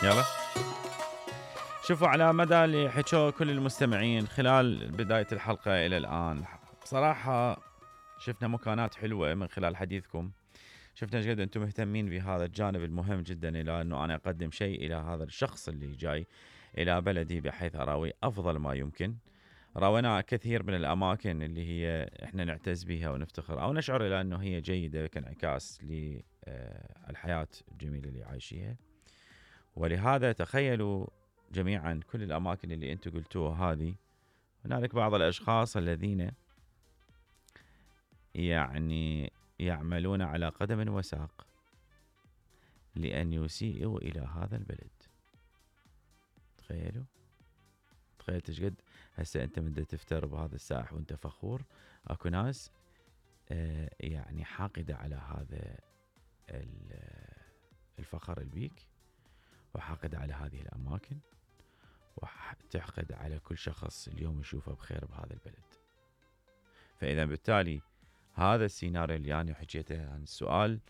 يلا شوفوا على مدى اللي حكوا كل المستمعين خلال بداية الحلقة إلى الآن، بصراحة شفنا مكانات حلوة من خلال حديثكم. شفنا جد أنتم مهتمين بهذا الجانب المهم جدا، إلى أنه أنا أقدم شيء إلى هذا الشخص اللي جاي إلى بلدي بحيث أراوي أفضل ما يمكن. راونا كثير من الأماكن اللي هي إحنا نعتز بها ونفتخر أو نشعر إلى أنه هي جيدة كانعكاس للحياة الجميلة اللي عايشيها. ولهذا تخيلوا جميعا كل الأماكن اللي أنتم قلتوها هذه، هنالك بعض الأشخاص الذين يعني يعملون على قدم وساق لأن يسيئوا إلى هذا البلد. تخيل تشقد هسه أنت من تفتر بهذا الساح وأنت فخور، أكو ناس يعني حاقدة على هذا الفخر البيك، وحاقدة على هذه الأماكن، وتحقد على كل شخص اليوم يشوفه بخير بهذا البلد. فإذا بالتالي هذا السيناريو اللي أنا حكيته عن السؤال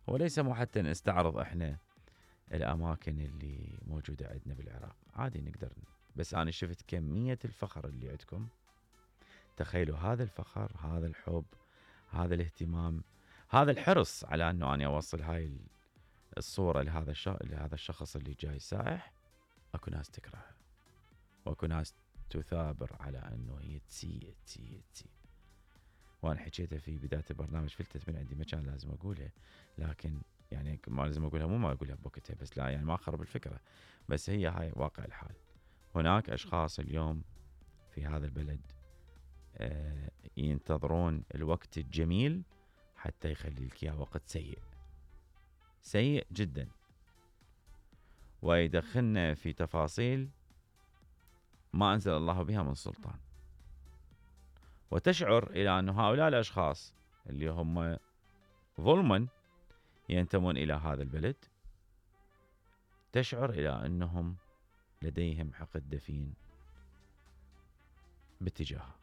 هو ليس مو حتى نستعرض إحنا الأماكن اللي موجودة عندنا بالعراق، عادي نقدر، بس أنا شفت كمية الفخر اللي عندكم. تخيلوا هذا الفخر، هذا الحب، هذا الاهتمام، هذا الحرص على أنه أنا أوصل هاي الصورة لهذا الشخص اللي جاي سائح. أكو ناس تكرهه، وأكو ناس تثابر على أنه هي تسيء. وأنا حكيتها في بداية البرنامج، فلتت من عندي، ما كان لازم أقولها، لكن يعني ما لازم أقولها، مو ما أقولها بوقتها، بس لا يعني ما أخرب الفكرة، بس هي هاي واقع الحال. هناك أشخاص اليوم في هذا البلد ينتظرون الوقت الجميل حتى يخلي لك إياه وقت سيء جدا، ويدخلنا في تفاصيل ما أنزل الله بها من سلطان. وتشعر إلى أن هؤلاء الأشخاص اللي هم ظلما ينتمون إلى هذا البلد، تشعر إلى أنهم لديهم حقد دفين باتجاهه.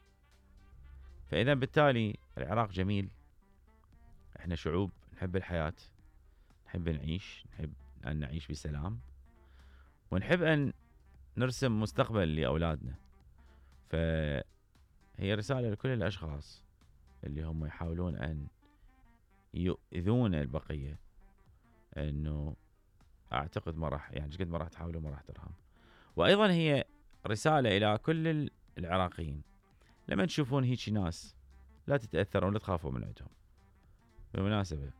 فإذا بالتالي العراق جميل، احنا شعوب نحب الحياة، نحب أن نعيش بسلام، ونحب أن نرسم مستقبل لأولادنا. فهي رسالة لكل الأشخاص اللي هم يحاولون أن يؤذون البقية، أنه أعتقد ما راح يعني قد ما راح تحاولوا ما راح ترهم. وأيضا هي رسالة إلى كل العراقيين، لما تشوفون هيك ناس لا تتأثرون، لا تخافوا من عندهم. بالمناسبة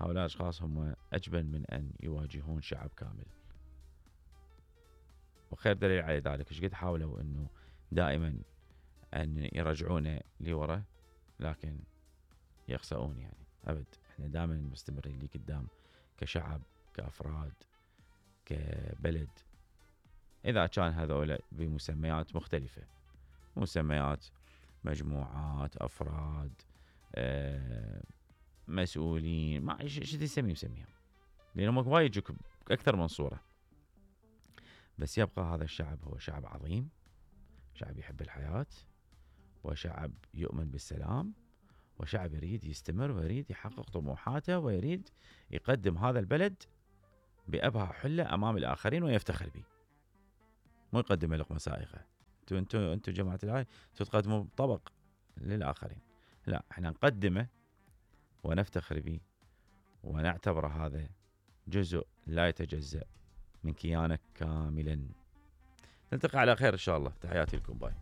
هؤلاء الأشخاص هم أجبن من أن يواجهون شعب كامل، وخير دليل على ذلك ايش قد حاولوا أنه دائما أن يرجعونه لورا، لكن يخسؤون. يعني أبد، احنا دائما مستمرين لي قدام كشعب، كأفراد، كبلد. إذا كان هذول بمسميات مختلفة، مسميات مجموعات، أفراد، مسؤولين، ما شو تسميهم، لأنهم وايد يجوك أكثر من صورة. بس يبقى هذا الشعب هو شعب عظيم، شعب يحب الحياة، وشعب يؤمن بالسلام، وشعب يريد يستمر ويريد يحقق طموحاته، ويريد يقدم هذا البلد بأبهى حلة أمام الآخرين ويفتخر به، مو يقدم لقمة سائغة. انتوا جماعة الهاي تقدموا طبق للآخرين، لا، احنا نقدمه ونفتخر به، ونعتبر هذا جزء لا يتجزأ من كيانك كاملا. نلتقي على خير إن شاء الله. تحياتي لكم، باي.